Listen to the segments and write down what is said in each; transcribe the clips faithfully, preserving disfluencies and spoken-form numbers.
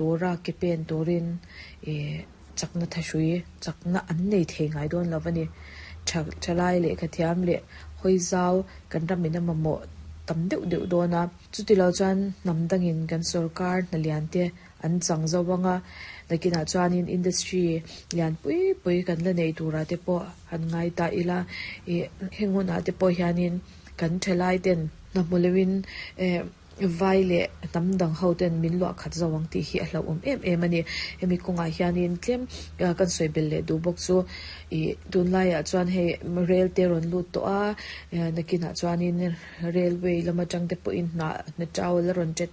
Tura ke pen turin ih chakna thahrui chakna an nei thei ngai dawn lo a ni. Tha thalai lehkha thiam leh hawi zau kan ramin a mamawh tam deuh deuh dawn a. Chutilo chuan hnam dangin kan sorkar hna lian te an chang zo anga nakinah chuanin industry lian pui pui kan la nei turah te pawh han ngai ta ila ih heng hunah te pawh hianin kan thalai ten hna hmu loin eh vai leh hnam dang ho ten min luah khat zo ang tih hi a hlauhawm em em a ni. Hemi kawngah hianin tlem kan sawi belh leh duh bawk chu ih tunlaiah chuan hei rel te rawn lut tawh a nakinah chuanin railway lam atang te pawhin hna hna tau la rawn tet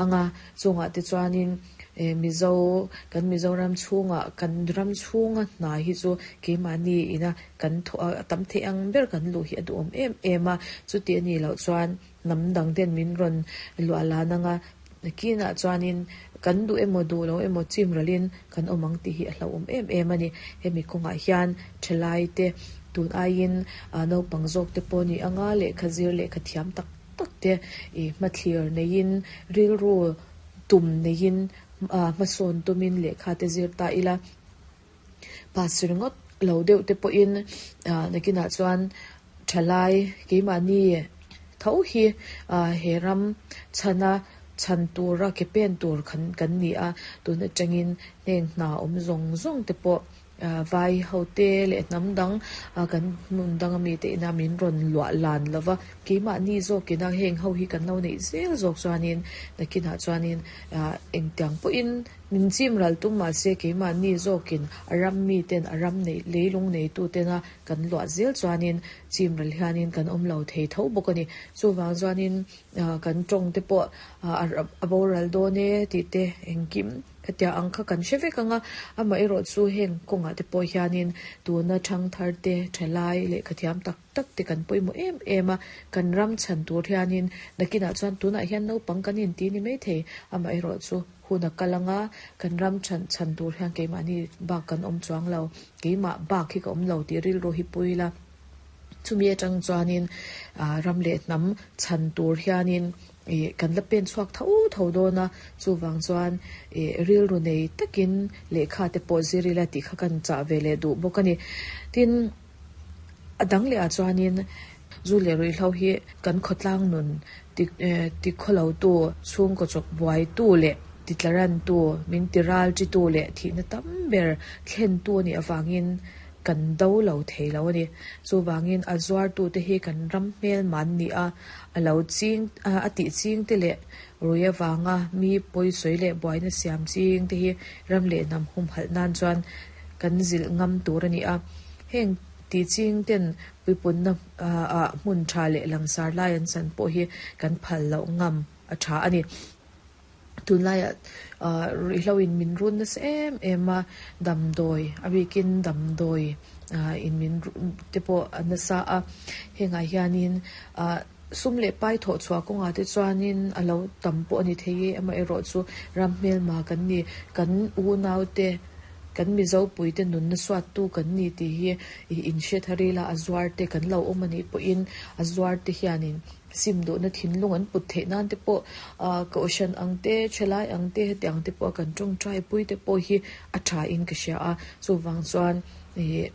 anga chungah te chuanin eh Mizo kan Mizoram chhungah kan ram chhunga hna hi chu keimahni ina kan thawh a tam theih ang ber kan luh hi a duhawm em em a chuti a nih loh chuan hnam dang ten min rawn luah lan anga nakinah chuanin kan duh emaw duh lo emaw chim ralin kan awm ang tih hi a hlauhawm em em a ni. Hemi kawngah hian thalai te tun aiin naupang zawk te pawh ni anga lehkha zir lehkha thiam tak tak te ih hmathlir neiin rilru tum neiin hmasawn tumin lehkha te zir ta ila pass ringawt lo deuh te pawhin nakinah chuan thalai keimahni tho hi he ram chhana chhan tura ke pen tur khan kan ni a tun atangin heng hna awm zawng zawng te pawh vai ho te leh hnam dang kan hmun dang ami te ina min rawn luah lan lova keimahni zawkina heng ho hi kan lo neih zel zawk chuanin nakinah chuanin engtiang pawhin min chim ral tum mahse keimahni zawkin a ram mi ten a ram nei leilung nei tu tena kan luah zel chuanin chim ral hianin kan awm lo thei tho bawk a ni. Chuvang chuanin kan tawng te pawh a boral dawn e tih te engkim khatia ang kha kan hre vek anga amaherawh chu heng kawngah te pawh hianin tuna thang thar te thalai lehkha thiam tak tak te kan pawimawh em em a kan ram chhan tur hianin nakinah chuan tunah hian naupang kan inti ni maithei amaherawh chu hun a kal anga kan ram chhan chhan tur hian keimahni bak kan awm chuang lo keimah bak hi ka awm lo tih rilru hi pui ila chumi atang chuanin ram leh hnam chhan tur hianin ih kan la pen chhuak tho tho dawn a chuvang chuan ih rilru nei takin lehkha te pawh zir ila tih kha kan chah ve leh duh bawk a ni. Tin a dang leh ah chuanin zu leh ruihhlo hi kan khawtlang nun ti ti khawlo tu chhungkaw chawk buai tu leh titlaran tu min ti ral chi tu leh thihna tam ber thlen tu a nih avangin kan do lo thei lo a ni. Chuvangin a zuar tu te hi kan ram hmel man ni a a lo ching a tih ching te leh rui avanga mi pawisawi leh buaina siam ching te hi ram leh hnam hum halh nan chuan kan zilh ngam tur a ni a. Heng tih ching ten puipunna ah hmun tha leh langsar lai an chan pawh hi kan phal loh ngam a tha a ni. Tunlaiah ruihhlo in min run nasa em em a damdawi a bikin damdawi in min te pawh a nasa a hengah hianin sum leh pai thawh chhuah kawngah te chuanin a lo tam pawh a ni thei e amaherawh chu ram hmelma kan ni kan unau te kan Mizo pui te nunna suat tu kan ni tih hi in hre thar ila a zuar te kan lo awm a nih pawhin a zuar te hianin sim duhna thinlung an put theih nan te pawh kohhran ang te thalai ang te hetiang te pawh kan tawngtai pui te pawh hi a tha in ka hria a chuvang chuan ih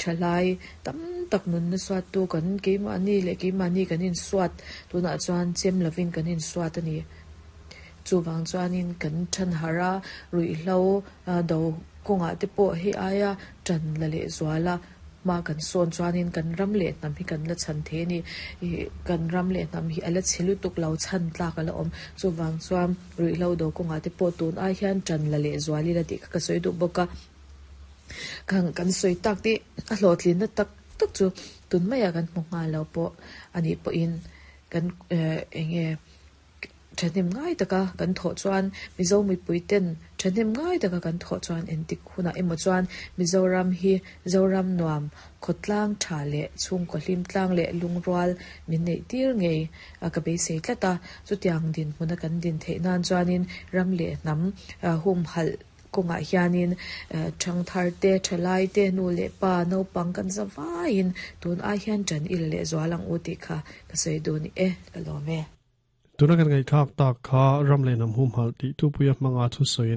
thalai tam tak nunna suat tu kan keimahni leh keimahni kan insuat tunah chuan chem lovin kan insuat a ni. Chuvang chuanin kan than har a ruihhlo do kawngah te pawh hei aia tan la leh zual a hma kan sawn chuanin kan ram leh hnam hi kan la chhan thei a ni. Ih kan ram leh hnam hi a la chhe lutuk lo chhan tlak a la awm chuvang chuan ruihhlo do kawngah te pawh tun ai hian tan la leh zual ila tih kha ka sawi duh bawk a. Kan kan sawi tak tih a hlawhtlinna tak tak chu tun maiah kan hmu nghal lo pawh a nih pawhin kan eng nge thahnem ngai taka kan thawh chuan Mizo mipui ten thahnem ngai taka kan thawh chuan entik hunah emaw chuan Mizoram hi Zoram nuam khawtlang tha leh chhungkaw hlim tlang leh lungrual min neih tir ngei ka beisei tlat a chutiang din hmuna kan din theih nan chuanin ram leh hnam hum halh kawngah hianin thang thar te thalai te nu leh pa naupang kan zawaiin tun ai hian tan ila leh zual ang u tih kha ka sawi duh ni e ka lawm e. Tuna kan ngai thak tak kha ram le nam hum hal ti tu puya manga thu soi.